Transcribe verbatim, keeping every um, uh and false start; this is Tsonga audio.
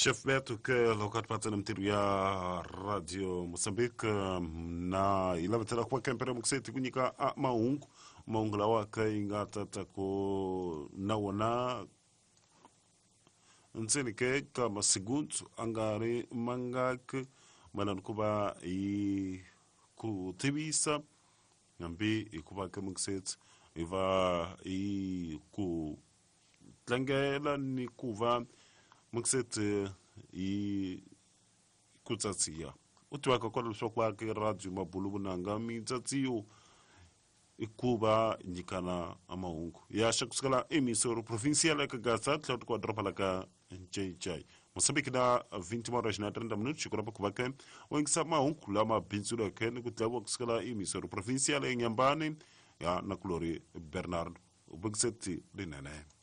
Chef Beto ke loko a ti na mintirho ya Radio Mozambique na hi lavetela ku va kempere mukuseti ku nyika mahungu mahungu lawa ka yi nga tata ku na wona ntseni ke ka masigundu a nga ri mangaki mayelana ku va hi ku tivisa hambi hi ku va ke mukuseti hi va hi ku tlangela ni ku va mukuseti hi ku tsatsiya u tivaka kwala leswaku va ke radio mabulu vunanga mitsatsiyo i ku va nyikana mahungu ya xa kusukela emisoro provincial eka Gaza tlhelo kwa doroba la ka Ncencai Mozambique na vinte horas na trinta minutos xikurapa ku va ke u yingisa mahungu lama bindzuleke ni ku dlayiwa kusukela emisoro provincial eNyambani ya nakulori Bernard vukiseti rinene.